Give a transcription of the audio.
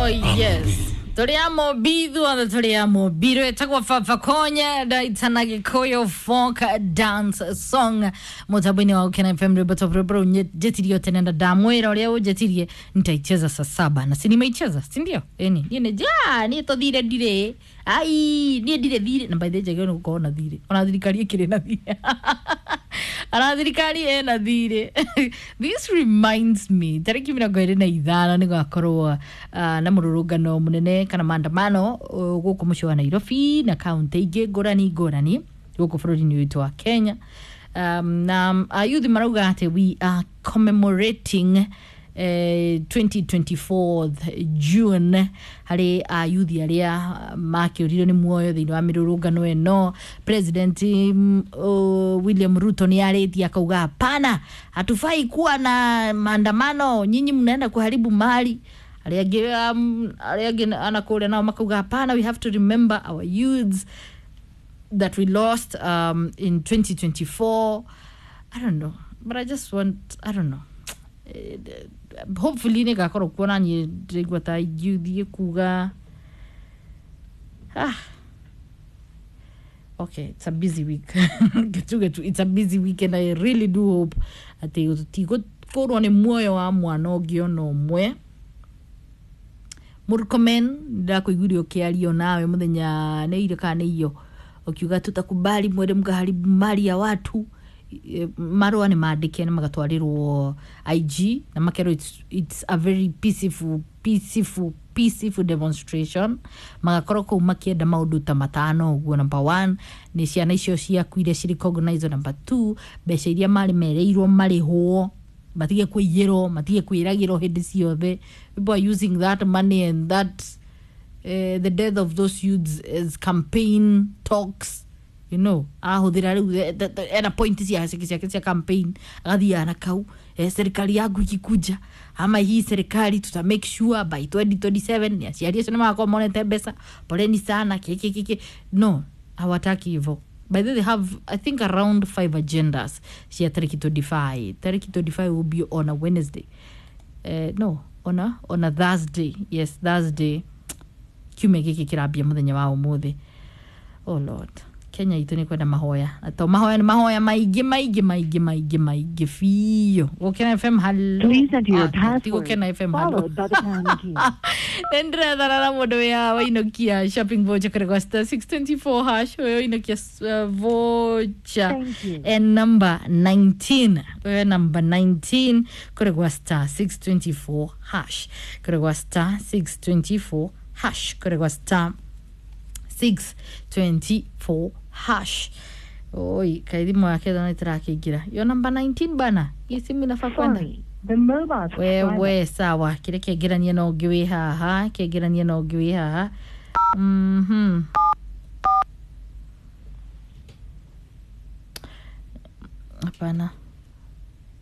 Oh yes, tũrĩ a Mobi, ithuothe tũrĩ a Mobi. Rwĩtagwo Baba Konya ndaitana Gĩkũyũ folk dance song mũtambo-inĩ wa Gũkena FM. Rwĩmbo top, rwĩmbo rũu njĩtirio tene na ndamwĩra ũrĩa ũnjĩtirie nitaicheza saa saba na si nimeicheza, si ndio? Ĩni niĩ nĩ ja niĩ tũthire ndirĩ ai niĩ ndirĩ thirĩ na by the way njagĩrĩirwo nĩ gũkorwo na thirĩ ona thirikari ĩkĩrĩ na thirĩ ana thirikari ĩna thirĩ. This reminds me, tarĩki 25 nĩ gwakorwo na mũrũrũngano mũnene kana maandamano gũkũ mũciĩ wa Nairobi na kaũntĩ ingĩ ngũrani ngũrani gũkũ bũrũri-inĩ witũ wa Kenya, na ayuthi marauga atĩ we are commemorating 2024 June harĩ ayuthi arĩa makĩũririo nĩ muoyo thĩinĩ wa mĩrũrũngano ĩno. President William Ruto nĩ arĩtie akauga hapana, hatufai kuwa na maandamano, nyinyi mnaenda kuharibu mali. Arĩa angĩ arĩa angĩ anakũrĩa nao makauga hapana, we have to remember our youths that we lost in 2024. I don't know, but I just want, I don't know. Hopefully nä ngakorwo kuona niä ndĩraigua ta ingĩthiĩ kuga ah. Okay, it's a busy week. Getu getu, it's a busy week and I really do hope atĩ tũtigũkũrwo nĩ muoyo wa mwana ũngĩ ona ũmwe. Murkomen, ndakũiguire ũkĩario nawe mũthenya nĩ irio kana nĩ iyo ũkiuga tutakubali mwende mkaharibu mali ya watu. Marũa nĩ mandĩke na magatwarĩrwo IG na makerwo it's a very peaceful, peaceful, peaceful demonstration. Magakorwo kũu makĩenda maũndũ ta matano ũguo. Number one nĩ ciana icio ciakuire ci recognize. Number two, mbeca iria marĩ mereirwo marĩhwo, matige kũiyĩrwo, matige kwĩragĩrwo hĩndĩ ciothe. People are using that money and that the death of those youths as campaign talks. Ahũthĩra rĩu ena point ciake ciake cia campaign, agathiaga na kau, serikali yangu ikikuja ama hii serikali tuta make sure by 2027 ni aciari acio nĩ magakorwo monete mbeca, poleni sana kiki kiki. No hawataki hivyo. By the way, they have, I think, around five agendas cia tarĩki 25. Tarĩki 25 will be on a Wednesday, no, on a Thursday. Yes, Thursday, kiumia gĩkĩ kĩrambia mũthenya wa ũmũthĩ. Oh Lord, Kenya itũ nĩ kwenda mahoya na to mahoya nĩ mahoya maingĩ maingĩ maingĩ maingĩ maingĩ biũ. Gũkena FM, hello. Please enter your Ah, ti password Gũkena FM, hello. followed by the pound key. Nĩ ndĩrethana na mũndũ wĩ haha wainũkia shopping voucher kũrĩ gwa star 624 hash. Ũyũ wainũkia voucher Thank you. and number 19, ũyũ number 19 kũrĩ gwa star 624 hash, kũrĩ gwa star 624 hash, kũrĩ gwa star 624 hash. Oi, kaĩ thimũ yake thona ĩtĩrakĩingĩra yo namba 19 bana, hii simu inafaa kwenda. Sorry, the mobile subscriber Wewe sawa, kĩrĩa kĩngĩrania na ũngĩ wĩ haha, kĩngĩrania na ũngĩ wĩ haha. Hapana.